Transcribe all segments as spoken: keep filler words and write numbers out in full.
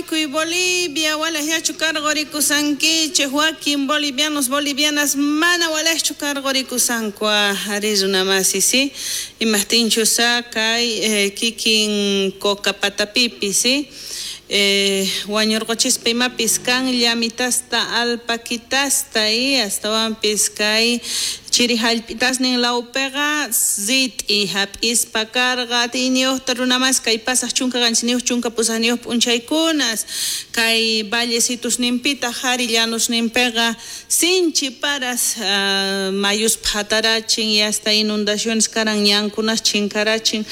Bolivia, walejchu karqorikusankichej, wakin bolivianos, bolivianas mana walejchu karqorikusanku ari runamasi, si imajtinchus kay eh, kikin Cocapatapipi, si eh, wañurqochispa imapis kan llamitasta alpaquitasta y astawanpis kay chiri hallp'itasnin lawpiqa rit'i hap'ispa karqa atiyniyuqta runamas kay pasaq chunka qanchisniyuq chunka pusaqniyuq p'unchaykunas kay vallecitusninpitaq qhari llanusninpiqa sinchi paras uh, mayus phatarachin y hasta inundaciones karan ñankunas chinkarachin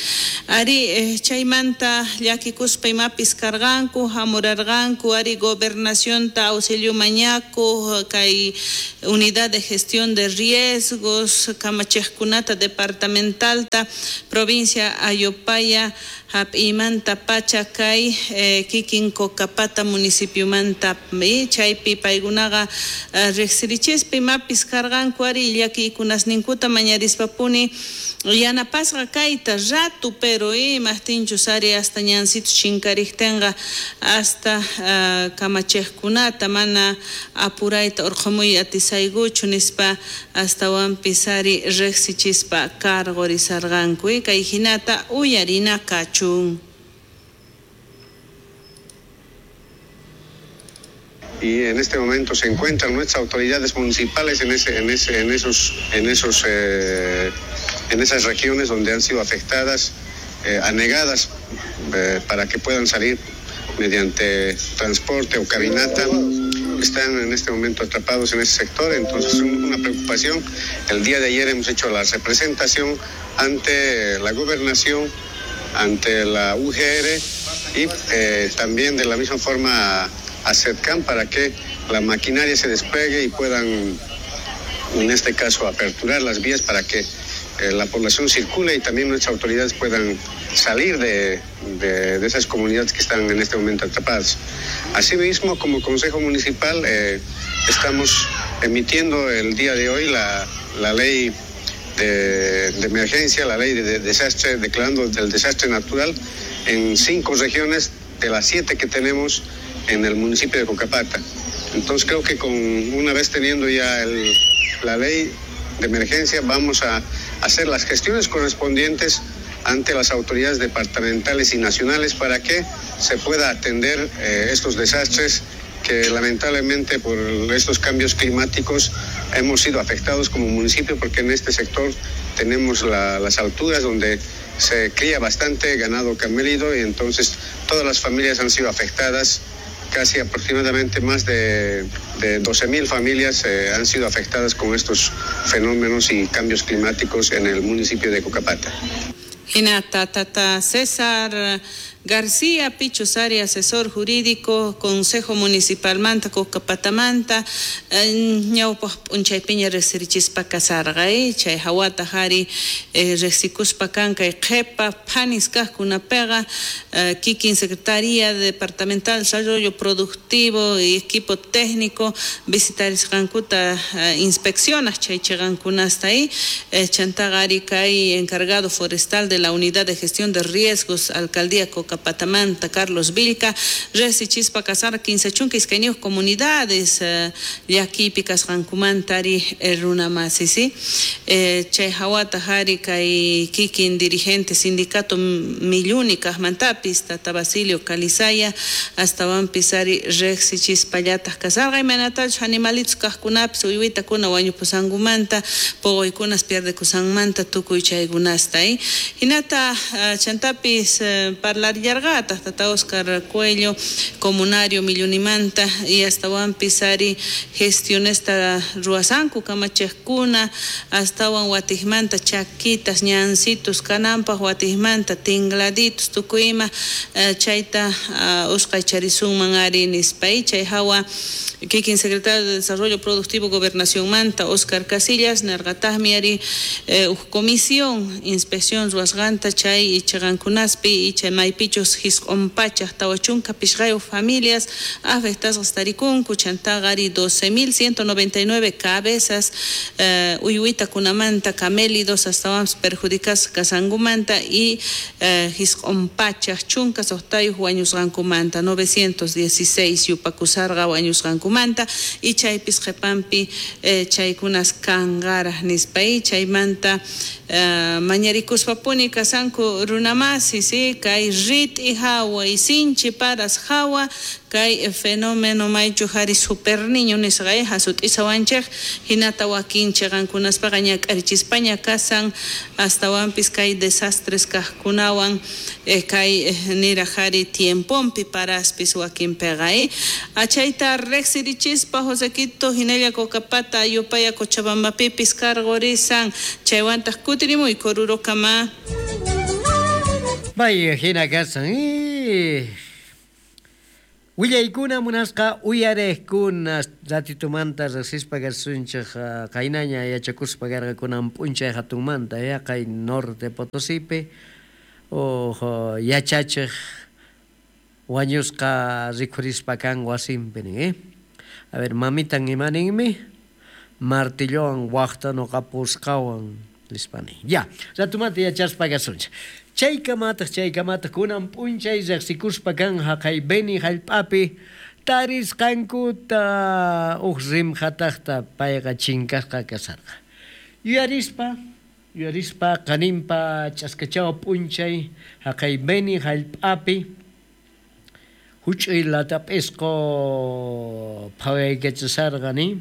ari eh, chaymanta llakikuspa imapis karqanku hamurarqanku ari gobernacionta auxilio mañaku kay unidad de gestión de riesgos kamachejkunata departamentalta provincia Ayopaya hap'imanta pacha kay eh, kikin Cocapata municipiomanta chaypi paykunaqa eh, riqsirichispa imapis karqanku ari llakiykunasninkuta mañarispapuni yanapasqa kayta ratu pero imajtinchus ari hasta ñansitus chinkariktinqa hasta uh, kamachejkunata mana apurayta urqumuy atisaykuchu nispa astawanpis ari riqsichispa karqurisarqanku kay hinata uyarina kachun. Y en este momento se encuentran nuestras autoridades municipales en ese, en ese, en esos, en esos, eh, en esas regiones donde han sido afectadas, eh, anegadas, eh, para que puedan salir mediante transporte o caminata. Están en este momento atrapados en ese sector, entonces es una preocupación. El día de ayer hemos hecho la representación ante la gobernación, ante la U G R y eh, también de la misma forma a SEDCAM para que la maquinaria se despliegue y puedan, en este caso, aperturar las vías para que eh, la población circule y también nuestras autoridades puedan salir de, de, de esas comunidades que están en este momento atrapadas. Asimismo, como Consejo Municipal, eh, estamos emitiendo el día de hoy la, la ley de, de emergencia, la ley de, de desastre, declarando el desastre natural en cinco regiones de las siete que tenemos en el municipio de Cocapata. Entonces creo que con una vez teniendo ya el, la ley de emergencia, vamos a hacer las gestiones correspondientes ante las autoridades departamentales y nacionales para que se pueda atender eh, estos desastres que lamentablemente por estos cambios climáticos hemos sido afectados como municipio, porque en este sector tenemos la, las alturas donde se cría bastante ganado camélido y entonces todas las familias han sido afectadas. Casi aproximadamente más de, de doce mil familias eh, han sido afectadas con estos fenómenos y cambios climáticos en el municipio de Cocapata. Hinata tata César García Pichusari, asesor jurídico, Consejo Municipal Manta, Cocapatamanta, ñawpaq p'unchaypiña riqsirichispa kasarqa, chay hawata qhari riqsikuspa kan kay qhipa phanis kaqkunapiqa kikin Secretaría Departamental Desarrollo Productivo y equipo técnico visitarisqankuta inspeccionas chay chiqankunasta ahí, chantaqa ari kay encargado forestal de la Unidad de Gestión de Riesgos, Alcaldía Cocapata Patamanta, Carlos Vilca, riqsichispa kasarqa kinsa chunka iskayniyuq comunidades llakiypi kasqankumanta ari runamasi, ¿sí? Chay hawata qhari kay kikin dirigente sindicato Milluni kaqmantapis tata Basilio Calizaya astawanpis ari riqsichispallataq kasarqa imaynatachus animalitos kaqkunapis uywitakuna wañupusankumanta puquykunas pierdekusanmanta tukuy chaykunasta, ¿eh? Hinata chantapis parlar yarqataq tata Oscar Cuello, comunario Millunimanta y astawanpis ari gestionesta ruwasanku kamachejkuna astawan watijmanta chakitas ñansitos kananpaq watijmanta tingladitos tukuy ima chayta usqaycharisunman ari nispa chay hawa kikin secretario de Desarrollo Productivo Gobernación Manta Oscar Casillas nerqataqmi ari uj comisión inspección ruwasqanta chay chiqankunaspi y chay maypichus maypichus jisq'un pachaj tawa chunka pishqayuq familias afectasqas tarikunku chantaqa ari doce mil ciento noventa y nueve cabezas eh, uywitakunamanta camélidos astawanpis perjudicasqa kasqankumanta y eh, jisq'un pachaj chunka suqtayuq wañusqankumanta novecientos dieciséis yupakusarqa wañusqankumanta y chaypis qhipanpi eh, chaykunas kanqaraj nispa y chaymanta eh, mañarikuspapuni kasanku runamasi si kay rit'i hawa y sinchi paras hawa kay fenómeno maychu hari super niño nisqa hasut'isawanchej hinata wakin chiqankunaspaqa ñak'arichispaña kasan astawanpis kay desastres kaqkunawan eh, kay niraj hari tiempompi paraspis wakinpiqa eh. Achayta riqsirichispa Josequito hinalla Cocapata Ayopaya Cochabambapipis karqurisan chaywantaq kutirimuyku Orurokama. Vaya hina kasan eh. Willaykuna munasqa uyarejkuna ratitumanta riqsispa kasunchej qaynaña yachakuspa karqakunan p'unchay hatunmanta ya kay Norte Potosipi o yachachej wañusqa rikhurispa kan wasinpi nin eh. A ver, mamitan imaninmi martillowan waqta nuqapusqawan nispa nin. Ya, ratumanta yachaspa kasunchej. Chaykamataq chaykamataq kunan p'unchay riqsikuspa kan haqay Beni hallp'api tarisqankuta uj rimqataqta payqa chinkasqa kasarqa. Yuyarispa, yuyarispa qaninpa ch'askachawa p'unchay haqay Beni hallp'api huch'uy latap'isqu phawaykachasarqa nin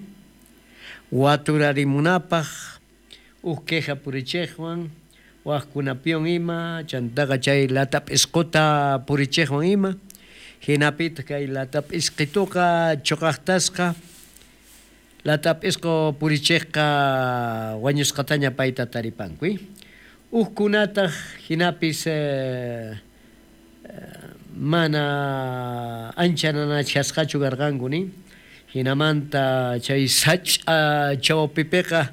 waturarimunapaq uj queja purichejwan wajkunapiwan ima chantaqa chay latap'isquta purichejwan ima hinapitaq kay latap'isqituqa chuqaqtasqa latap'isqu purichejqa wañusqataña payta taripanku ujkunataq hinapis eh, mana ancha nanachasqachu karqanku nin hinamanta chay sach'a chawpipiqa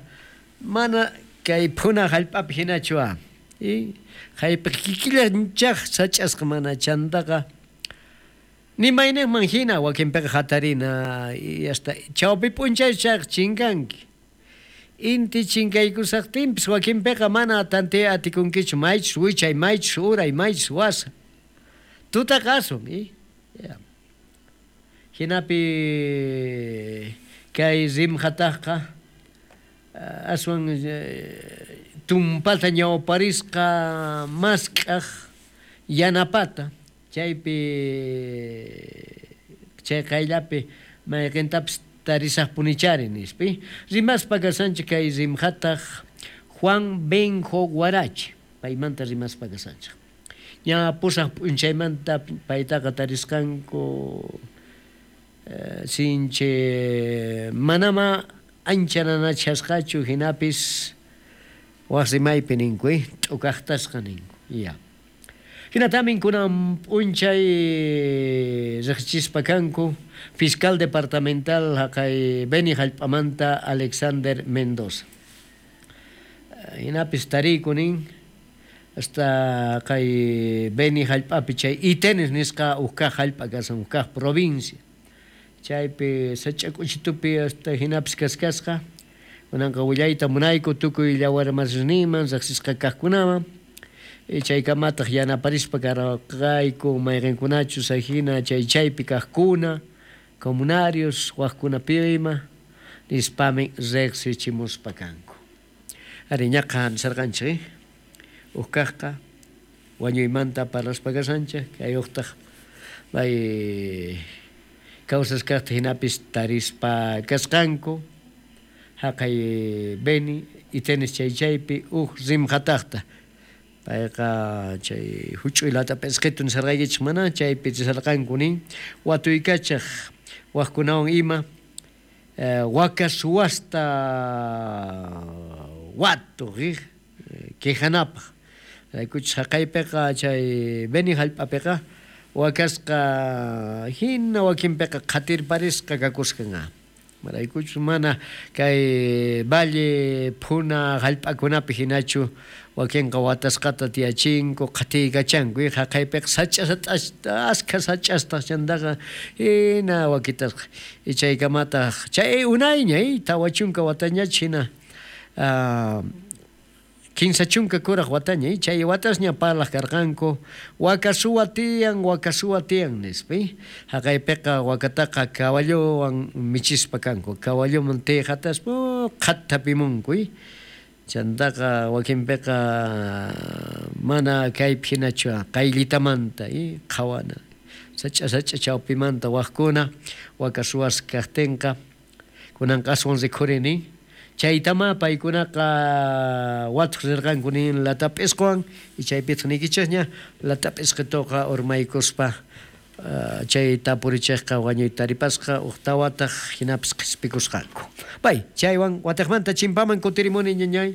mana kay phuna hallp'api hinachu a y haypi kikillanchaj sach'asqa mana chantaqa nimaynejman hina wakinpiqa hatarina y hasta chawpi p'unchay chayqa chinkanki inti chinkaykusaqtinpis wakinpiqa mana tantiya atikunkichu maychus wichay maychus uray maychus wasa tutaqa asun y ya hinapi kay rimqataqqa aswan tumpata ñawparisqa mask'aj yanapata chaypi chay qayllapi mayqintapis tarisaqpunichari nispi rimaspa kasanchik kay rimqataq Juan Benjo Guarachi paymanta rimaspa kasanchik ña pusaq p'unchaymanta paytaqa tarisqanku sinchi manama ancha nanachasqachu hinapis waq rimaypi ninku eh t'ukaqtasqa ninku ya hinatamin kunan p'unchay riqsichispa kanku fiscal departamental haqay Beni hallp'amanta Alexander Mendoza hinapis tariku nin hasta kay Beni hallp'api chay Itenes nisqa uj kaq hallp'a kasan uj kaq provincia chaypi sach'ak'uchitupi hasta hinapis kaskasqa kunanqa willayta munayku tukuy llawarmasisninman riqsisqa kaqkunaman chaykamataq yanaparispa karqayku mayqinkunachus hina chay chaypi kaqkuna comunarios waqkunapi ima nispami riqsichimuspa kanku ari ñaqa nisarqanchik uj kaqqa wañuymanta parlaspa kasanchik kay uqtaq may kawsasqaqta hinapis tarispa kasqanku haqay Beni Itenes chay chaypi uj rimqataqta payqa chay huch'uy latap'isqitu nisarqaykichik mana chaypi chisarqanku nin watuykachaq waqkunawan ima eh, waka suwasta watuq eh, quejanapaq raykuchis haqaypiqa chay Beni hallp'apiqa wakasqa hina wakinpiqa qhatirparisqa kakusqanqa Maraykuchus mana kay valle phuna hallp'akunapi hinachu wakinqa watasqata tiyachinku qhatiykachanku haqaypiqa sach'a askha sach'astaq chantaqa hina wakitasqa chaykamataq chay unayña tawa chunka watañach hina kinsa chunka kuraq wataña chay watasña parlaq karqanku waka suwa tiyan waka suwa tiyan nispa haqaypiqa wakataqa kawalluwan michispa kanku kawalluman tiyqataspa qhattapimunku chantaqa wakinpiqa mana kaypi hinachu qayllitamanta qhawana sach'a sach'a chawpimanta waqkuna waka suwas kaqtinqa kunanqa aswan rikhurini chaytama paykunaqa watuq rirqanku nin latap'isqwan chaypitaq niykichikña latap'isqituqa urmaykuspa chay tapurichikqa wañuyta taripasqa uq tawataq hinapis qhispikusqanku. Pay chaywan watiqmanta chimpaman kutirimuni ñañay.